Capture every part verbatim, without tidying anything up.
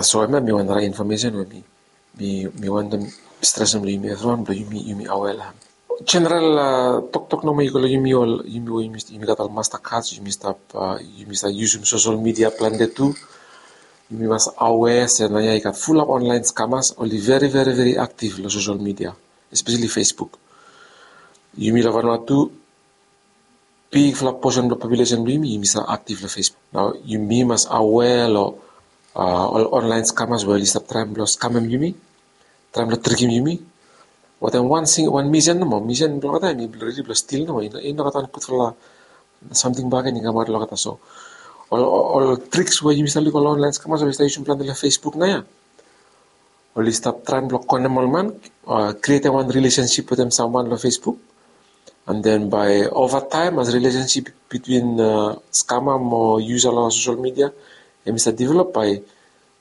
So hemia mi wan drai infomesen we mi mi mi wantem stresem long yumi evriwan blong yumi yumi aware long hem. Jeneral toktok nomo i go long yumi ol yumi we yumi gat ol master cards, yumi stap yumi stap yusum sosol midia plante tu. Yumi mas aware se naoia i gat fulap online scammers oli veri veri veri aktiv long sosol midia, espeseli Facebook. Yumi long Vanuatu bigfala posen blong populesen blong yumi yumi stap aktiv long Facebook. Nao yumi mas aware long ol online scammers we oli stap traem blong skamem yumi, traem blong trikim yumi. Watem wan sing wan misen nomo, misen blong olgeta hem i redi blong stil nomo, i no gat wan gudfala samting bakegen i kamaot long olgeta. So ol triks we yumi stap lukim ol online scammers oli stap yusum plante long Facebook naoia, oli stap traem blong konem ol man, krietem wan rilesensip wetem samwan long Facebook. And then bae ova taem as rilesensip bitwin skama mo yusa long sosol midia hem i stap develop, bae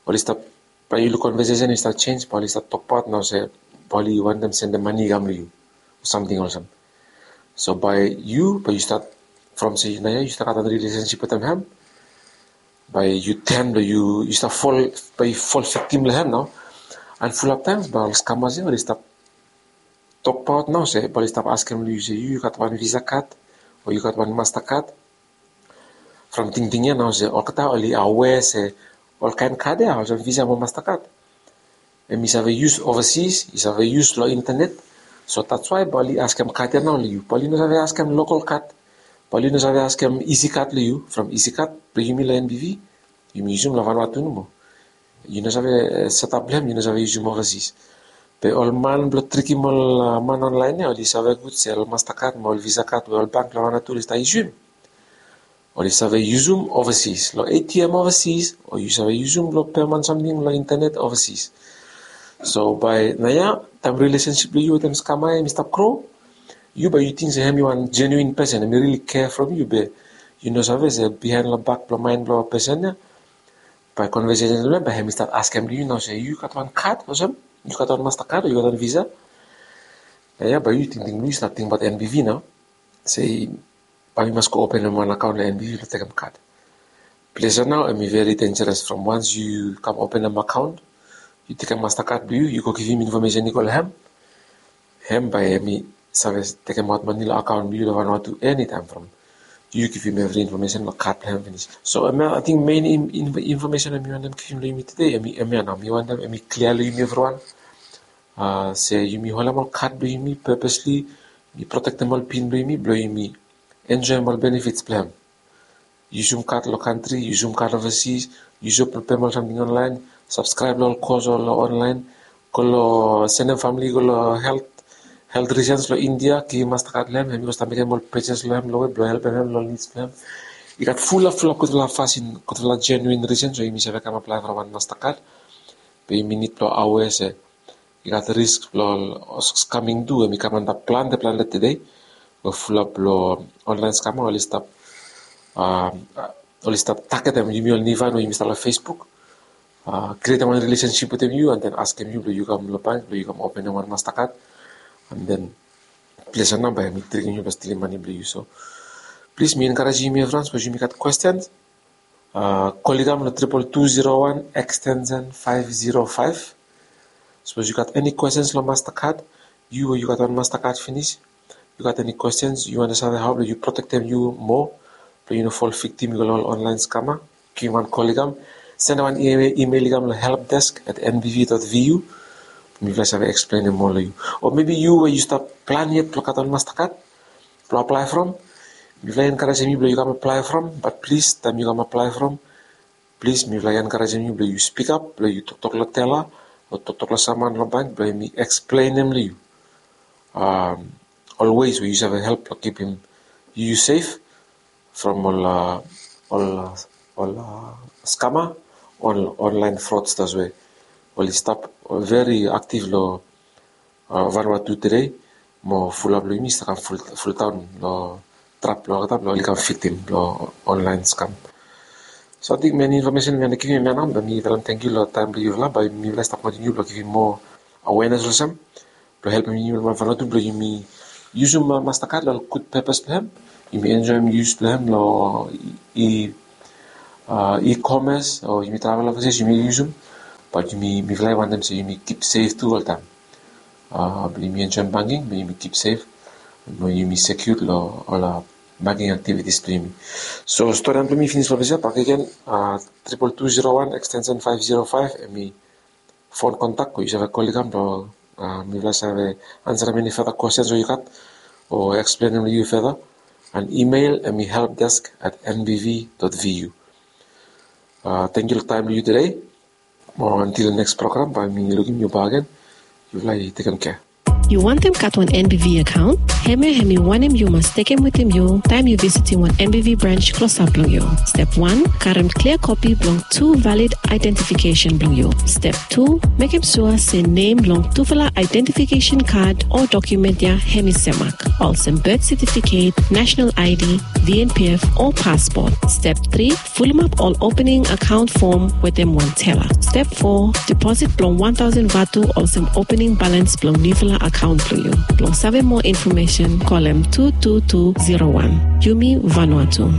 oli stap bae yu luk konvesesen i stap jenis bae oli stap tokbaot nao se bae oli wantem sendem mane i kam long yu o samting olsem. So bae yu bae yu stat from se naoia yu stap gat wan rilesensip wetem hem, bae yu ten blong yu yu stap fol bae yu fol viktim long hem nao. And fulap taems bae ol skamas ya oli stap tokbaot nao se bae oli stap askem long yu se yu yu gat wan visa kad o yu gat wan masta kad. From tingting ya nao se olgeta oli aware se ol kaen kad ya olsem visa mo masta kad hem i save yus ovasis, i save yus long intenet. So that's why bae oli askem kad ya nao long yu, bae oli no save askem lokal kad, bae oli no save askem isi kad long yu. From isi kad blong yumi long NBV yumi yusum long Vanuatu nomo. Yu no save setap blong hem yu no save yusum ovasis. Be ol man blong trikim ol man onlaen ya oli save gud se ol masta kad mo ol visa kad we ol bank long Vanuatu oli stap yusum oli save yusum ovasis long ATM ovasis o yu save yusum blong pem wan samting long intenet ovasis. So bae naoia taem rilesensip blong yu wetem skama ya hem i stap gro, yu bae yu ting se hem i wan jenuin pesen hem i rili kea from yu be yu no save se bihaen long bak blong maen blong pesen ya bae konvesesen blong hem bae hem i stat askem long yu nao se yu gat wan kad olsem, yu gat wan masta kad o yu gat wan visa. Naoia bae yu tingting blong yu stap tingbaot NBV nao se bae mi mas go openem wan akaon long NBV blong tekem kad. Ples ya nao hem i veri denjeres from wans yu kam openem akaon yu tekem masta kad blong yu yu go givim infomesen i go long hem, hem bae hem i save tekemaot mane long akaon blong yu long Vanuatu enitaem from yu givim evri infomesen long kad blong hem finis. So hemia ating mein infomesen we mi wantem givim long yumi tede hemia nao mi wantem hem i klia long yumi evriwan se yumi holem ol kad blong yumi pepesli, yumi protektem ol pin blong yumi blong yumi enjoem ol benefits blong hem. Yusum kad long kantri, yusum kad ovasis, yusum blong pem ol samting onlaen, sabskraeb long ol kos o long onlaen, go long sendem famili go long helt helt risens long India givim masta kad long hem hem i go stap mekem ol pejes long hem long we blong helpem hem long ol nids blong hem. I gat fulap fulap gudfala fasin gudfala jenuin risens we yumi save kam aplae from wan masta kad. Be yumi nid blong aware se i gat risk blong ol skaming tu we mi kam antap plante plante tede we fulap long onlaen skama oli stap oli stap tagetem yumi ol nivan we yumi stap long Facebook, krietem wan rilesensip wetem yu and then askem yu blong yu kam long bank blong yu kam openem wan masta kad and then ples ya nao bae hem i trikim yu blong stilim mane blong yu. So plis mi enkarejem yumi evriwan sapos yumi gat kwestens, kol i kam long triple two zero one extension five zero five. Sapos yu gat eni kwestens long masta kad, yu we yu gat wan masta kad finis, yu gat eni kwestens yu wantem save hao blong yu protektem yu moa blong yu no fol viktim i go long ol onlaen skama, givim wan kol i kam, sendem wan imel i kam long help desk at NBV dot VU. Mifala i save eksplenem moa long yu. O mebi yu we yu stap plan yet blong gat wan masta kad blong aplae from, mifala i enkarejem yu blong yu kam aplae from, bat plis taem yu kam aplae from, plis mifala i enkarejem yu blong yu spikap blong yu toktok long tela o toktok long samwan long bank blong hem i eksplenem long yu ol ways we yu save help blong kipim yu sef from ol ol ol skama, ol onlaen fraudsters we oli stap veri aktiv long Vanuatu tede mo fulap long yumi i stap kam fultaon long trap blong olgeta blong oli kam viktim long onlaen skam. So ating meni infomesen mi wantem givim hemia nao be mi talem tangkiu long taem blong yufala bae mifala i stap kontiniu blong givim moa awenes olsem blong helpem yumi long Vanuatu blong yumi yusum masta kad long ol gud pepas blong hem, yumi enjoem yus blong hem long e-commerce o yumi travel ovasis yumi yusum Bat yumi, mifala i wantem se yumi kip sef tu oltaem. Blong yumi enjoem banking, blong yumi kip sef, blong yumi sekiud long ol banking aktivitis blong yumi. So storian blong yumi i finis long ples ya. Bakegen, triple two zero one extension five zero five, hemi fon kontak we yu save kol i kam blong mifala save ansarem eni feta kwestens we yu gat o eksplenem long yu feta. And email hemi helpdesk at nbv dot vu. Tangkiu long taem blong yu tede. Mo antil neks program bae mi lukim yu bakegen. Yufala i tekem kea. Yu wantem gat wan N B V akaon? Hemia hemi wanem yu mas tekem wetem yu taem yu visitim wan N B V brans klosap blong yu. Step wan, karem klia kopi blong tu valid aedentifikesen blong yu. Step tu, mekem sua se nem long tufala aedentifikesen kad o dokumen ya hemi semak, olsem birth certificate, national I D, V N P F o paspot. Step tri, fulumap ol opening akaon fom wetem wan tela. Step fo, deposit blong wan taosen vatu olsem opening balans blong niufala akaon blong yu. Blong save moa infomesen, kolem tu tu tu zero wan. Yumi Vanuatu.